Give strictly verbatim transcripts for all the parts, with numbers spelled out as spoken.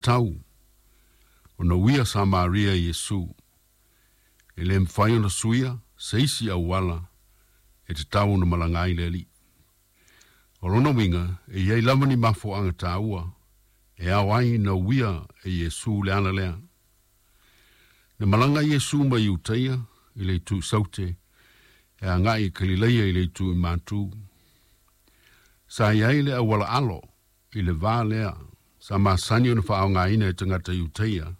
Tau ona uia Samaria i Iesu. E le mafai ona suia se isi auala e tatau ona malaga ai le Alii. O lona uiga e i ai lava ni mafuaaga taua e ao ai ona uia e Iesu le ala lea. Na malaga Iesu mai Iutaia i le itu i Saute e agai i Kalileia i le itu i Matu. Sa i ai le auala alo i le va lea sa masani ona faaaogaina e tagata Iutaia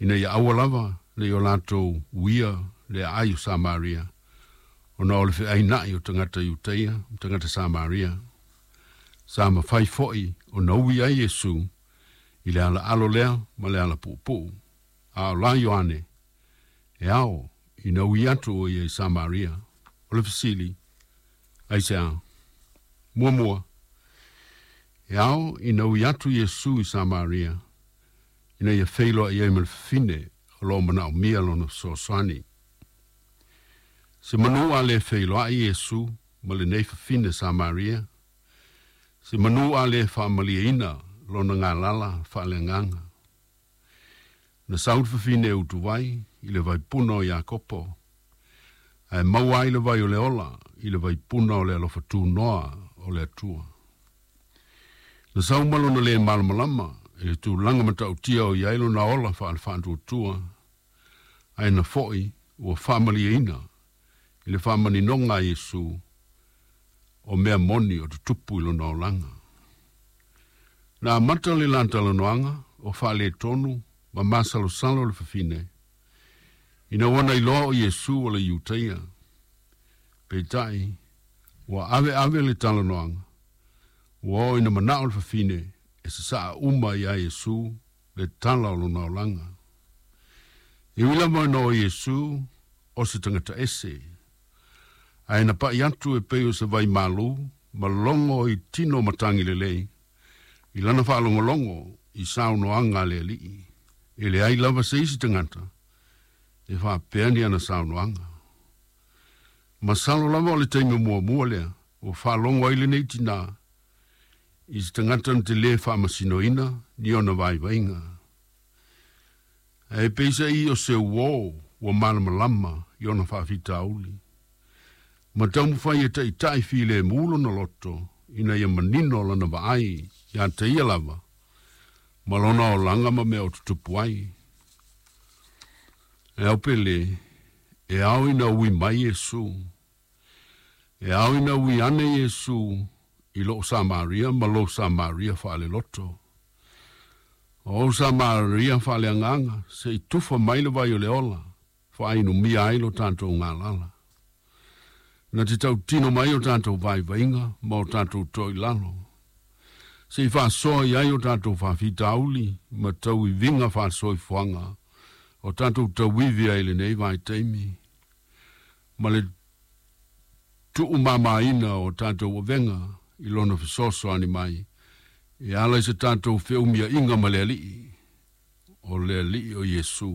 ina ia aua lava ne i o latou uia le aai o Samaria ona o le feaina'i o tagata Iutaia ma tagata Samaria. Sa mafai fo'i ona ui ai Iesu i le ala alo lea ma le ala puupuu. A o la Ioane, e ao ina ui atu o ia i Samaria. O le fesili, aisea? Muamua, e ao ina ui atu Iesu i Samaria ina ia feiloai ai ma le fafine o lo o manaomia lona fesoasoani. Se manu a le feiloai Iesu ma lenei fafine Samaria, se manu a le faamalieina lona galala faaleagaga. Na sau le fafine e utuvai i le vaipuna o Iakopo, ae maua ai le vai o le ola i le vaipuna o le alofa tunoa o le Atua. Na sau ma lona le malamalama i le tulaga matautia o i ai lona ola faale-faatuatua, ae na fo'i ua faamalieina i le faamaninoga a Iesu o mea moni o tutupu i lona olaga. Na amata le la talanoaga o faaletonu ma masalosalo le fafine, ina ua na iloa o Iesu o le Iutaia. Peitai, ua aveave le talanoaga, ua oo ina manao le fafine e sasaa uma iā Iesu le tala o lona olaga. E ui lava ina o Iesu o se tagata ese, ae na pai atu e pei o se vai malu ma logo i tino matagi lelei i lana faalogologo i saunoaga a le Alii. E leai lava se isi tagata e faapea ni ana saunoaga. Masalo lava o le taimi muamua lea ua faalogo ai lenei tinā i se tagata na te lē faamasinoina ni ona vaivaiga. Ae peisa'i o se uō ua malamalama i ona faafitauli ma taumafai e taʻitaʻi filemu lona loto ina ia manino lana vaai iā te ia lava ma lona olaga ma mea o tutupu ai. E ao pe lē, e ao ina ui mai Iesu. E ao ina ui ane Iesu i lou Samaria ma lou Samaria faaleloto. O ou Samaria faaleagaga se i tufa mai le vai o le ola, faainumia ai lo tatou galala. Na te tautino mai o tatou vaivaiga ma o tatou toilalo. Se i faasoa i ai o tatou faafitauli ma tauiviga faalesoifuaga o tatou tauivi ai i lenei vaitaimi ma le tuumamaina o tatou avega i lona fesoasoani mai e ala i se tatou feumiaiga ma le Alii, o le Alii o Iesu.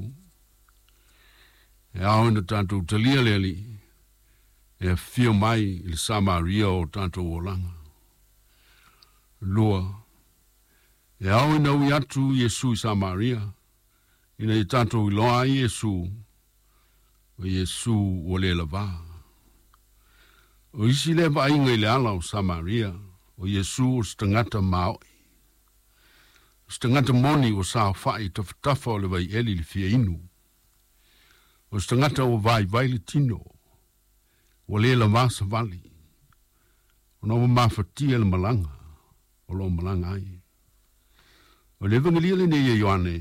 E ao ina tatou talia le Alii e afio mai i le Samaria o tatou olaga. Lua, e ao ina ui atu Iesu i Samaria ina ia tatou iloa ai Iesu, o Iesu ua le lavā. O isi lea vaaiga i le ala o Samaria, o Iesu o se tagata maoʻi, o se tagata moni ua saofaʻi i tafatafa o le vaieli i le fia inu, o se tagata ua vaivai le tino, ua le lavā savali, ona ua mafatia le malaga o lo o malaga ai. O le Evagelia lenei e Ioane,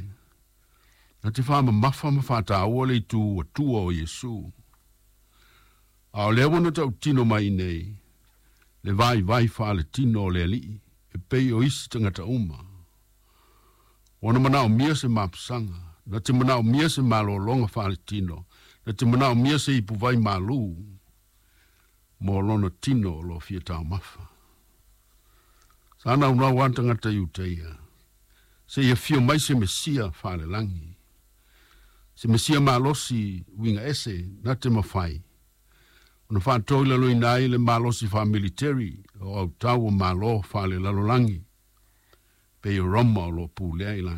na te faamamafa ma faataua le itu atua o Iesu. A o lea ua na tautino mai nei, le vaivai faaletino o le Alii e pei o isi tagata uma. Ua na manaomia se mapusaga, na te manaomia se malologa faaletino, na te manaomia se ipuvai malū mo lona tino o lo o fia taumafa. Sa naunau lava tagata Iutaia se i afio mai se Mesia faalelagi, se Mesia malosi uiga ese na te mafai ona faatoilaloina ai le malosi faamiliteri o autau o malo faalelalolagi Pei o Roma o lo o pulea i latou.